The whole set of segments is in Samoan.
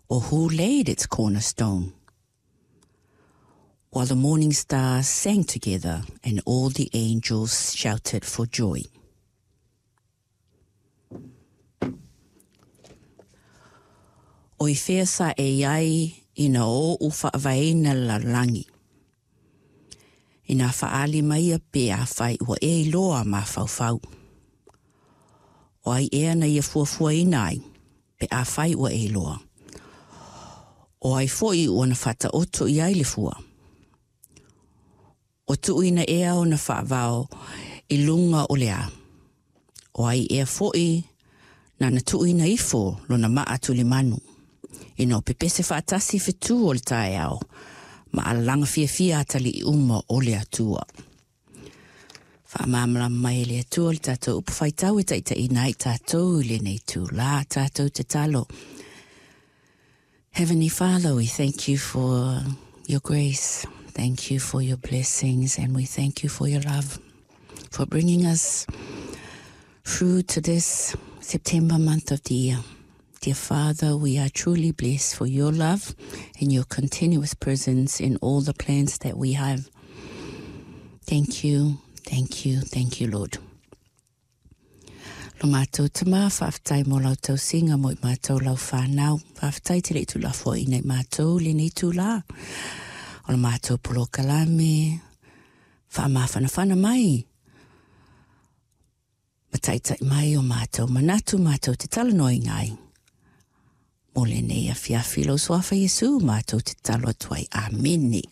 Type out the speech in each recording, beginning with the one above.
Or who laid its cornerstone? While the morning stars sang together and all the angels shouted for joy. O i fea sa e i ai ina oʻu faavaeina le lalolagi? Inā faaali maia pe afai ua e iloa mafaufau. O ai ea na ia fuafuaina ai, pe afai ua e iloa? O ai foi ua na faataoto i ai le fua? Ua tuuina ea ona faavao i luga o le a? O ai ea foi nana tuuina ifo lona maa tulimanu, ina o pepese faatasi fetu o le taeao, ma alalaga fiafia atalii uma o le Atua. Faamalamalama mai e le Atua le tatou upu faitau e taitaiina ai tatou i lenei itulā. Tatou tatalo. Heavenly Father, we thank you for your grace. Thank you for your blessings and we thank you for your love, for bringing us through to this September month of the year. Dear Father, we are truly blessed for your love and your continuous presence in all the plans that we have. Thank you, thank you, thank you, Lord. Lo matou tama, faafetai mo lau tausiga mo i matou lau fanau. Faafetai te le i tuulafoaiina i matou lenei itulā. O le matou polokalame, faamafanafana mai ma taitai mai o matou manatu matou te talanoaina ai. Mo lenei afiafi lou suafa Iesu matou te tatalo atu ai. Amene.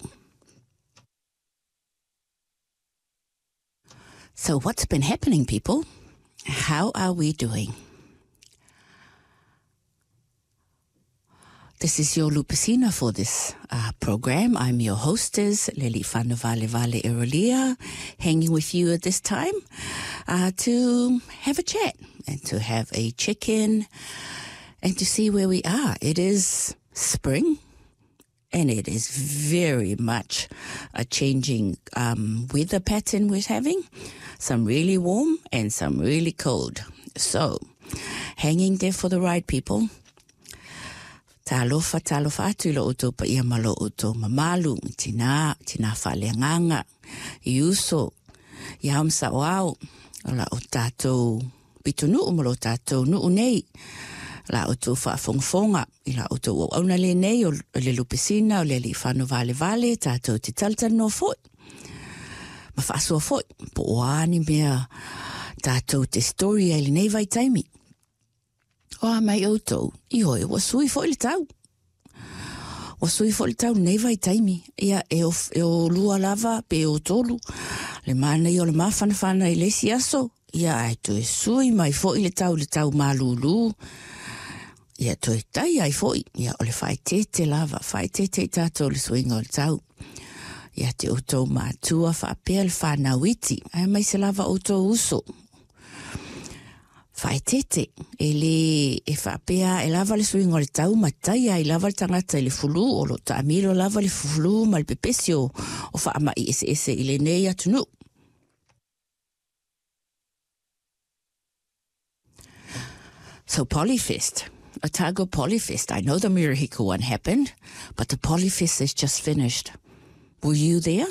So what's been happening, people? How are we doing? This is your Lupesina for this program. I'm your hostess, Leli Vale Erolia, hanging with you at this time to have a chat and to have a check-in and to see where we are. It is spring and it is very much a changing weather pattern we're having. Some really warm and some really cold. So, hanging there for the ride, people. Talofa, talofa atu i lo outou paia ma lo outou mamalu, i tinā, tinā faaleagaga, i uso, i ao ma saoao, o la o tatou pitonuu ma lo tatou nuu nei, la outou faafogafoga i la outou auauna lenei o le Lupesina, o le Alii Fanovalevale, tatou te talatalanoa foi, ma faasoa foi, po o a ni mea tatou te story ai lenei vaitaimi. O a mai outou, ioe, ua sui foi le tau. Ua sui foi le tau lenei vaitaimi. Ia, e o, e o lua lava, pe o tolu. Le manaia o le mafanafana i le isi aso. Ia, ae toe sui mai foi le tau, le tau malūlū. Ia, toe tai ai foi. Ia, o le faaeteete lava, faaeteete i tatou le suiga o le tau. Ia te outou matua faapea le fanau iti, aemaise lava outou uso. Faaeteete, e lē e faapea e lava le suiga o le tau ma tai ai lava le tagata i le fulu, o lo o taamilo lava le fulu ma le pepesi o, o faamai eseese i lenei atunuu. So Polyfest, Otago Polyfest, I know the Murihiku one happened, but the Polyfest is just finished. Were you there?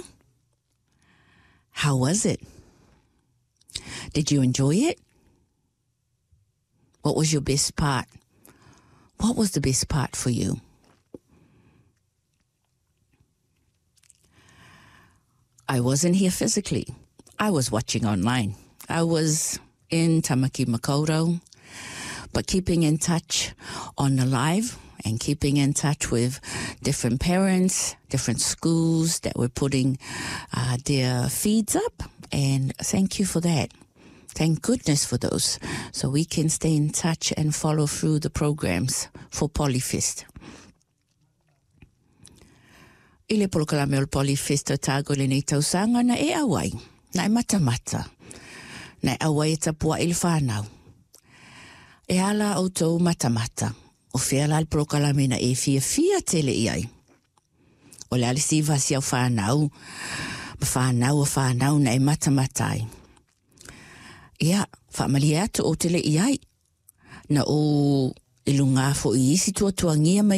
How was it? Did you enjoy it? What was your best part? What was the best part for you? I wasn't here physically. I was watching online. I was in Tamaki Makaurau, but keeping in touch on the live and keeping in touch with different parents, different schools that were putting their feeds up. And thank you for that. Thank goodness for those. So we can stay in touch and follow through the programs for Polyfest. I le polokalame o le Polyfest Otago i lenei tausaga na e auai, na e matamata, na e auai e tapuai le whanau. E a la outou matamata, o fea la le polokalame na e fiafia tele i ai. O le a le siva si au whanau, ma whanau o whanau na e matamata ai. Ia, faamalie atu ou te le i ai. Na ou i luga foi i isi tuatuagia ma